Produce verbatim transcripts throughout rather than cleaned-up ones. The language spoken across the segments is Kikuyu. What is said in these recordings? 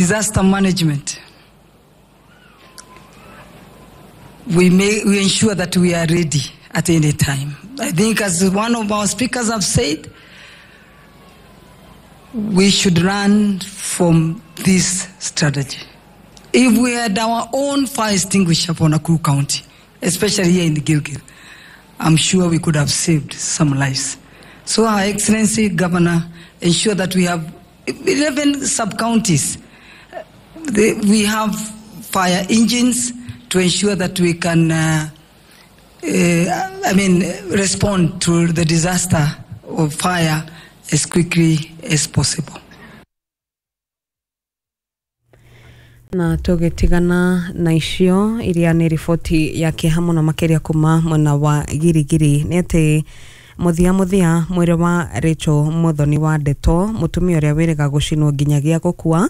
Disaster management. We may, we ensure that we are ready at any time. I think, as one of our speakers have said, we should learn from this strategy. If we had our own fire extinguisher for Nakuru County, especially here in Gilgil, I'm sure we could have saved some lives. So Her Excellency Governor, ensure that we have eleven sub-counties. We have fire engines to ensure that we can, uh, uh, I mean, respond to the disaster of fire as quickly as possible. Na tũgĩtigana na icio iria nĩ riboti ya kĩeha mũno makĩria kuma mwena wa Girigiri nĩ atĩ mũthia mũthia mwĩrĩ wa Rachel Muthoni wa Ndeto, mũtumia ũrĩa wĩrĩga gũcinwo nginyagia gũkua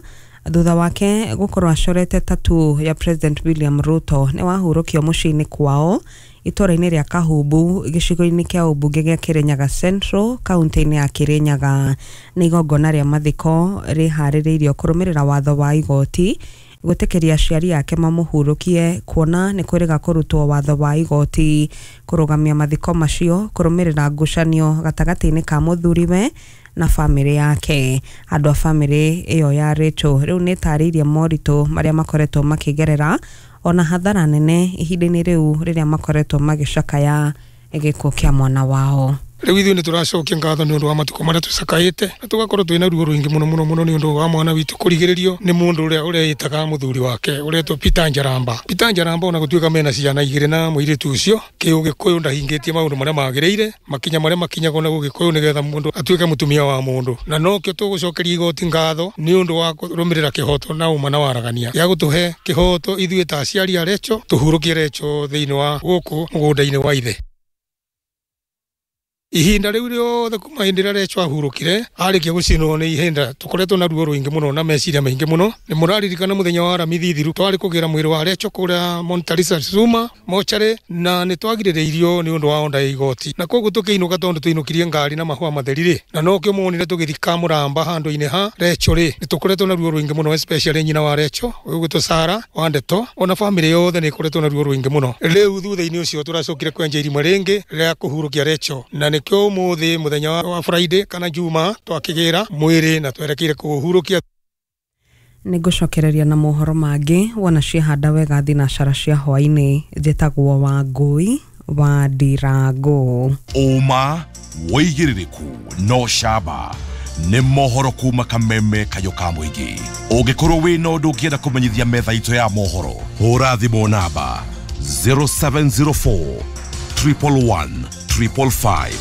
thutha wake gũkorwo acorete tattoo ya President William Ruto nĩ wahurũkio mũciĩ-inĩ kwao itũũra-inĩ rĩa Kahumbu gĩcigo-inĩ kĩa ũmbunge gĩa Kirinyaga Central kaunti-inĩ ya Kirinyaga. Nĩ igongona rĩa mathiko rĩharĩrĩirio kũrũmĩrĩra watho wa igoti gwĩtĩkĩria aciari ake mamũhurũkie kuona nĩ kwĩrĩga kũrutwo watho wa igoti kũrũgamia mathiko macio kũrũmĩrĩra ngucanio gatagatĩ-inĩ ka mũthuriwe na famĩlĩ yake. Andũ a famĩlĩ ĩyo ya Rachel rĩu nĩ ĩtarĩirie moritũ marĩa makoretwo makĩgerera ona hathara nene ihinda-inĩ rĩu rĩrĩa makoretwo magĩcakaya gĩkuũ kĩa mwana wao. Rĩu ithuĩ nĩ tũracokia ngatho nĩ ũndũ wa matukũ marĩa tũcakaĩte na tũgakorwo twĩna ruo rũingĩ mũno mũno mũno nĩ ũndũ wa mwana witũ kũrigĩrĩrio nĩ mũndũ ũrĩa ũreĩtaga mũthuri wake ũretwo Peter Njaramba. Peter Njaramba ona gũtuĩka mena ciana igĩrĩ na mũirĩtu ũcio, kĩũgĩkũyũ ndahingĩtie maũndũ marĩa magĩrĩire, makinya marĩa makinyagwo na ũgĩkũyũ nĩgetha mũndũ atuĩke mũtumia wa mũndũ. Na nokĩo tũgũcokeria igoti ngatho nĩ ũndũ wa kũrũmĩrĩra kĩhoto na ũma na waragania gĩa gũtũhe kĩhoto ithuĩ ta aciari a Rachel tũhurũkie Rachel thĩinĩ wa gũkũ mũgũnda-inĩ wa ithe. Ihinda rĩu rĩothe kuma hĩndĩ ĩrĩa Rachel ahurũkire arĩkia gũcinwo nĩ ihinda tũkoretwo na ruo rũingĩ mũno na meciria maingĩ mũno. Nĩ mũraririkana mũthenya wa Aramithi thiru twarĩ kũgĩra mwĩrĩ wa Rachel kũrĩa Montalisa Zuma mocarĩ na nĩ twagirĩrĩirio nĩ ũndũ wa onda ya igoti na koguo tũkĩinũka tondũ tũinũkirie ngari na mahũa matheri rĩ na nokĩo muonire tũgĩthika mũramba handũ-inĩ ha Rachel rĩ. Nĩ tũkoretwo na ruo rũingĩ mũno especially nyina wa Rachel ũgwĩtwo Sara wa Ndeto ona famĩlĩ yothe nĩ ĩkoretwo na ruo rũingĩ mũno. Rĩu thutha-inĩ ũcio tũracokire kwenja irima rĩngĩ rĩa kũhurũkia Rachel na nĩkĩo ũmũthĩ mũthenya wa Friday kana Juma twakĩgĩra mwĩrĩ na twerekeire kũhurũkia. Nĩngũcokereria na mohoro mangĩ wona ciehanda wega thinacara cia hwaĩ-inĩ. Njĩtagwo Wangũi wa Ndirango. Ũma wĩigĩrĩrĩku no camba nĩ mohoro kuma kameme kayo ka mũingĩ. Ũngĩkorwo wĩna ũndũ ũngĩenda kũmenyithia metha itũ ya mohoro, hũra thimũ namba zero seven zero four triple one triple five.